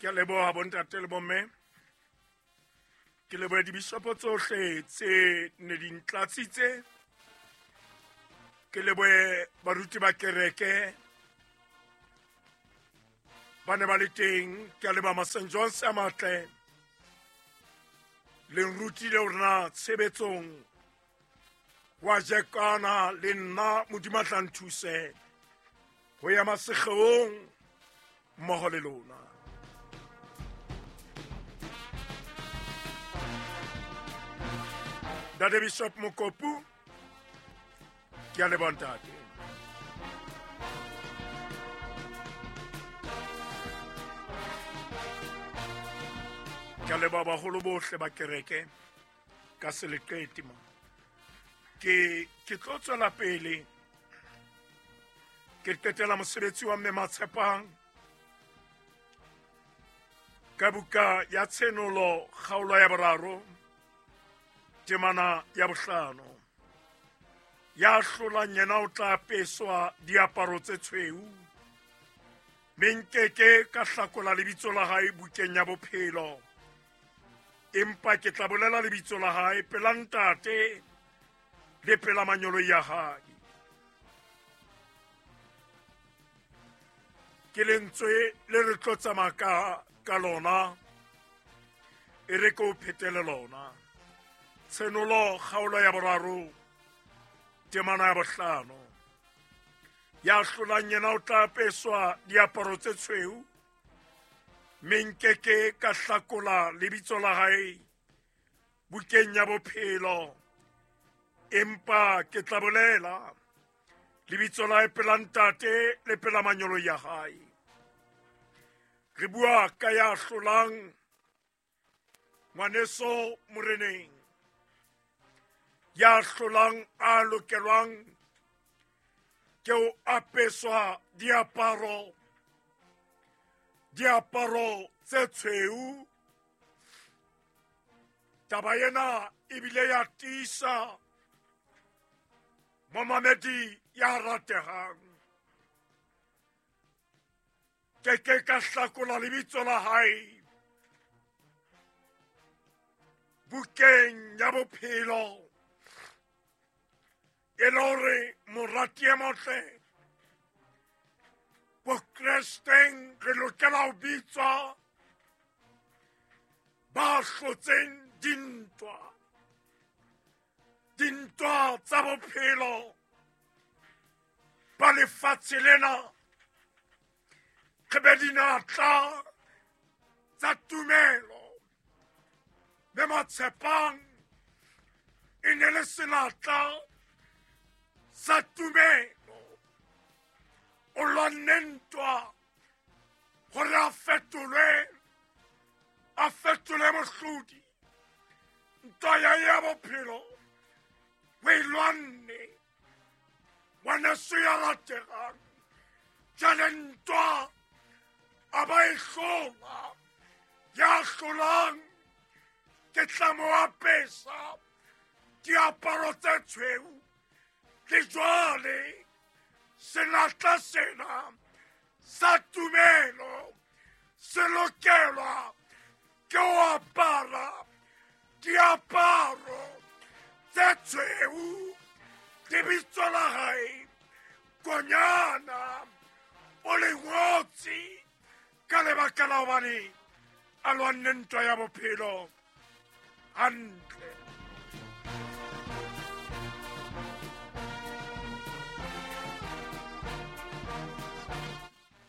Ke a leboha bontate le bomme. Ke lebohe dibishopo tsohle tse ne di ntlatsitse. Ke lebohe baruti ba kereke ba ne ba le teng. Ke a leboha ma St. John's a matle. Le nrutile hore na tshebetsong wa jekana le nna Modimo a tla nthuse ho ya masekgeong mmoho le lona. Ntate Bishop Mokopu, ke a leboha ntate. Ke a leboha baholo bohle ba kereke ka seleqete mo. Ke tlo tswela pele ke qetela mosebetsi wa mme Matshepang ka buka ya Tshenolo kgaolo ya boraro temana ya bohlano. Ya hlolang yena o tla apeswa diaparo tse tshweu, mme nkeke ka hlakola lebitso la hae bukeng ya bophelo, empa ke tla bolela lebitso la hae pela ntate le pela manyolo ya hae. Ke lentswe le re tlo tsamaya ka lona, e re ke o phetele lona. Tshenolo kgaolo ya boraro temana ya bohlano. Ya hlolang yena o tla apeswa diaparo tse tshweu, mme nkeke ka hlakola lebitso la hae bukeng ya bophelo, empa ke tla bolela lebitso la hae pela ntate le pela manyolo ya hae. Re bua ka ya hlolang ngwaneso moreneng, ya hlolang a lokelwang ke ho apeswa diaparo, diaparo tse tshweu. Taba ena ebile ya tiisa momamedi ya ratehang. Ke ke ka hlakola lebitso la hae bukeng ya bophelo, e le hore morati e motle bokresteng re lokela ho bitswa ba hlotseng dintwa, dintwa tsa bophelo ba lefatshe lena. Re be dinatla tsa tumelo, mme Matshepang e ne le senatla sa tumelo. O lwanne ntwa hore a fetolwe, a fetole mohlodi. Ntwa ya ya bophelo o e lwanne, ngwaneso ya rategang. Jwale ntwa a ba e hlola, ya hlolang ke tla mo apesa diaparo tse tshweu. Le jwale senatla sena sa tumelo se lokelwa ke ho apara diaparo tse tshweu. Lebitso la hae Konyana o le ngotse ka lebaka la hobane a lwanne ntwa ya bophelo hantle.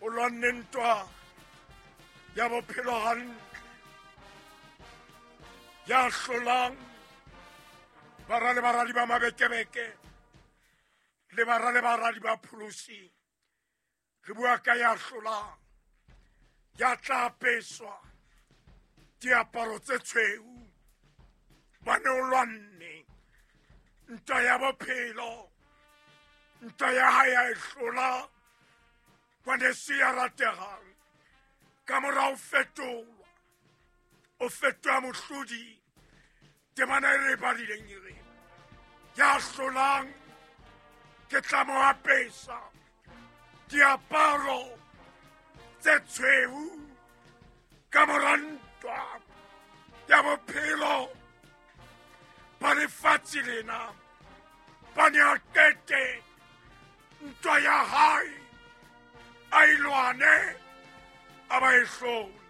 O lwanne ntwa ya bophelo hantle, ya hlolang bara le baradi ba mabekebeke le bara le baradi ba pholosi. Re bua ka ya hlolang, ya tla apeswa diaparo tse tshweu, bane o lwanne ntwa ya bophelo, ntwa ya hae ya e hlola, ngwaneso ya rategang. Ka mora ho fetolwa, o fetoha mohlodi. Temana e re e badileng e re, ya hlolang ke tla mo apesa diaparo tse tshweu. Bophelo ba lefatshe lena ba ne a qete ntwa ya hae, a e lwane, a ba e hlole.